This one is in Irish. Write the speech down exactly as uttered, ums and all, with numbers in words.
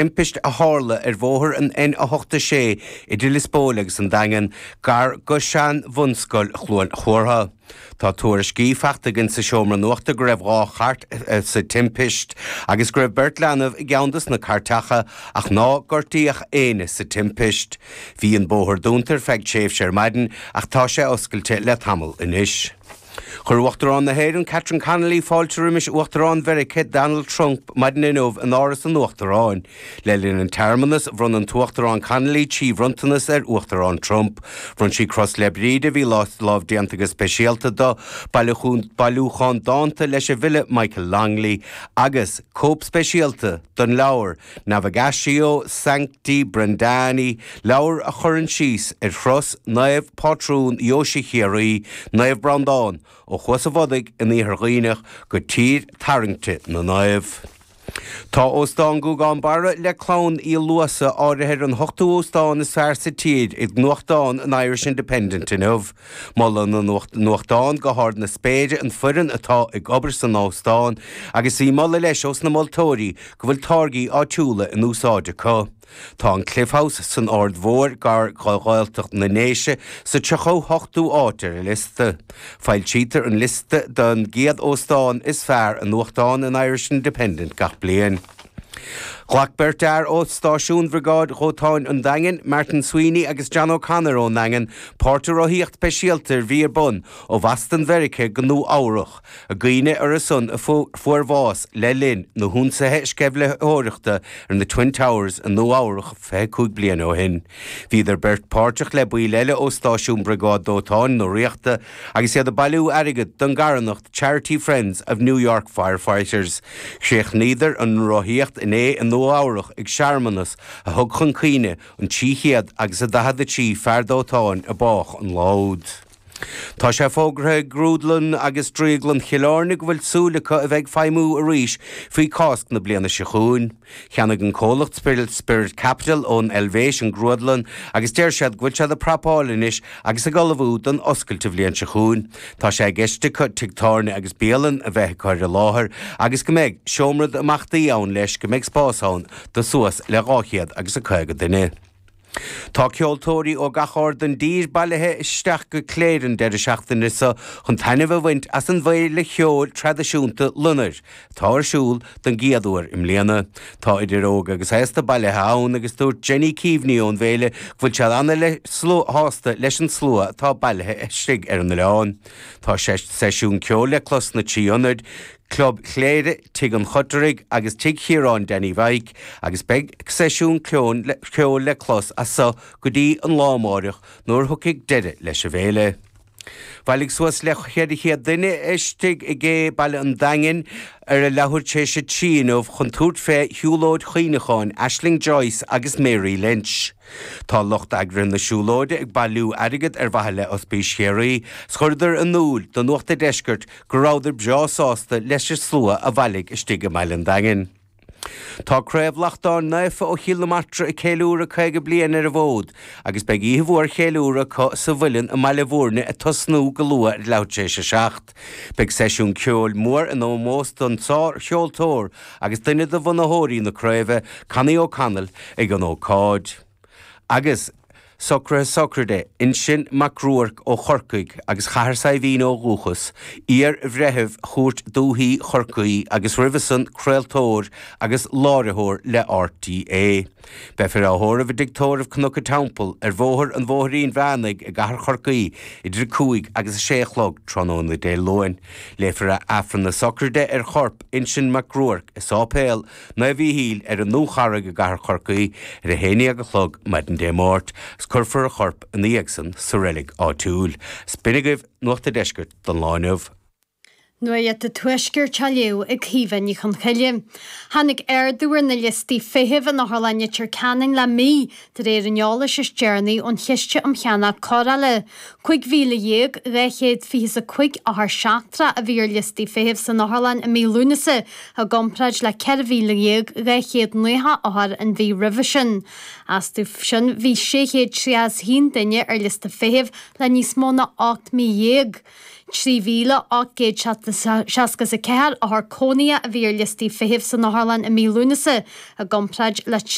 Timpist a tharla ar bhóthar an N a hocht a sé idir Lios Póil agus an Daingean, gar go sean-bhunscoil Chluain Chomhartha. Tá tuairiscí faighte againn sa seomra nuachta go raibh dhá chairt sa timpist agus go raibh beirt leanbh i gceann dos na cairteacha ach nár gortaíodh éinne sa timpist. Bhí an bóthar dúnta ar feadh tréimhse ar maidin ach tá sé oscailte le tamall anois. Chuir Uachtarán na hÉireann Catherine Connolly fáilte roimis Uachtarán Mheiriceá Donald Trump maidin inniu in Áras an Uachtaráin. Le linn an tsearmanas, bhronn an tUachtarán Connolly trí bhronntanas ar Uachtarán Trump. Bhronn sí Cros Fhéile Bríde a bhí lámhdéanta go speisialta dó, bailiúchán dánta leis an bhfile Michael Longley agus cóip speisialta den leabhar Navigatio Sancti Brendani, leabhar a chuireann síos ar thuras Naomh Pátrún Dheoise Chiarraí, Naomh Breandán, ó Chuas an Bhodaigh in Iarthar Dhuibhneach go tír tarraingte na naomh. Tá Óstán Ghúgán Barra le clann Uí Luasa áirithe ar an hochtú óstán is fearr sa tír ag nuachtán an Irish Independent inniu. Molann an nuachtán go hard na spéire an foireann atá ag obair san óstán agus bhí moladh leis ós na moltóirí go bhfuil táirgí áitiúla in úsáid acu. Tá an Cliff House san Aird Mhór gar do Ghaeltacht na nDéise sa tríocha hochtú áit ar an liosta. Foilsítear an liosta den gcéad óstán is fearr i nuachtán an Irish Independent gach bliain. Ghlac beirt fhear ó stáisiún Bhriogáid Dhóiteáin an Daingin, Martin Sweeney agus John O'Connor ón nDaingean, páirt i rothaíocht speisialta a bhí ar bun ó Bhoston Mheiriceá go Nua Eabhrach, i gcuimhne orthu san a fuair bás le linn na hionsaithe sceimhlitheoireachta ar na Twin Towers i Nua Eabhrach fiche cúig bliana ó shin. Bhíodar beirt páirteach le baill eile ó stáisiún Briogáid Dóiteáin na Ríochta agus iad ag bailiú airgid don gcarthanacht Charity Friends of New York Firefighters. Chríochnaíodar an rothaíocht inné i Nua Eabhrach ag searmanas a thug chun cuimhne an trí chéad agus a daichead a trí fear dóiteáin a bádh an lá úd. Tá sé fógartha ag Grúdlann agus Drioglann Chill Airne go bhfuil súil acu a bheith ag feidhmiú arís faoi Cásc na bliana seo chugainn. Cheannaigh an comhlacht Spirit, Spirit Capital ón Eilvéis an grúdlann agus deir siad go bhfuil siad ag prapáil anois agus ag ullmhú don oscailt an bhliain seo chugainn. Tá sé i gceist acu tigh tábhairne agus bialann a bheith acu ar an láthair agus go mbeidh seomra imeachtaí ann leis go mbeidh spás ann do suas le dhá chéad agus a caoga duine. Tá ceoltóirí ó gach aird den dtír bailithe isteach go Cléire an deireadh seachtaine seo chun taitneamh a bhaint as an bhféile cheoil traidisiúnta Loinnir, atá ar siúl don gcéad uair i mbliana. Tá idir óg agus aosta bailithe ann agus dúirt Jenny Keaveney ón bhféile go bhfuil siad ana-shásta leis an slua atá bailithe istigh ar an oileán. Tá seisiún ceoil le clos sna trí ionad, Club Chléire, Tigh an Chotaraigh agus Tigh Chiaráin Danny Mhaidhc agus beidh seisiún ceoil le clos as seo go dtí an lá amárach nuair a thiocfaidh deireadh leis an bhféile. Bhailigh suas le ceithre chéad duine istigh i gCé Baile an Daingin ar a leathuair tar éis a trí inniu chun tabhairt fé shiúlóid chuimhneacháin Aisling Joyce agus Mary Lynch. Tá lucht eagraithe na siúlóide ag bailiú airgead ar mhaithe le Ospís Chiarraí, 's chuireadar in iúl do Nuacht an Deiscirt go rabhadar breá sásta leis an slua a bhailigh istigh i mBaile an Daingin. Tá Craobh Lachtáin Naofa ó Chill na Martra ag ceiliúradh caoga bliain ar an bhfód agus beidh oíche mhór cheiliúradh acu sa Mhuileann i mBaile Bhúirne ag tosnú go luath ar leathuair tar éis a seacht. Beidh seisiún ceoil mór in ómós don sárcheoltóir agus duine de bhunaitheoirí na craoibhe, Connie O'Connell, ag an ócáid. Agus socruithe sochraide Uinseann Mac Ruairc ó Chorcaigh agus Chathair Saidhbhín ó dhúchas, iar-bhreitheamh Chúirt Dúiche Chorcaí agus roimhe san craoltóir agus láithreoir le RTÉ. Beifear á thórramh i dTigh Tórraimh Cnoc an Teampaill ar Bhóthar an Bhóithrín Mheánaigh i gCathair Chorcaí idir a cúig agus a sé a chlog tráthnóna Dé Luain. Léifear Aifreann na sochraide ar chorp Uinseann Mac Ruairc i Sáipéal Naomh Mhíchíl ar an Dúcharraig i gCathair Chorcaí ar a haon déag a chlog maidin Dé Máirt agus cuirfear a chorp ina dhiaidh san sa reilig áitiúil. 'S b'in agaibh Nuacht an Deiscirt don lá inniu. Nuacht an Tuaiscirt á léamh ag Caoimhe Ní Chonchoille. Tháinig ardú ar na liostaí feithimh in Otharlann Leitir Ceanainn le mí, de réir an eolais is deireanaí ón Chiste um Cheannach Cóireála. Cúig mhíle dhéag dhá chéad fiche is a cúig othar seachtrach a bhí ar liostaí feithimh san otharlann i mí Lúnasa, i gcomparáid le ceithre mhíle dhéag dhá chéad nócha othar an mhí roimhe sin. Astu sin bhí sé chéad tríocha is a haon duine ar liosta feithimh le níos mó ná ocht mí dhéag. Trí mhíle ocht gcéad seasca is a ceathair othar cónaithe a bhí ar liostaí feithimh san otharlann i mí Lúnasa, i gcomparáid le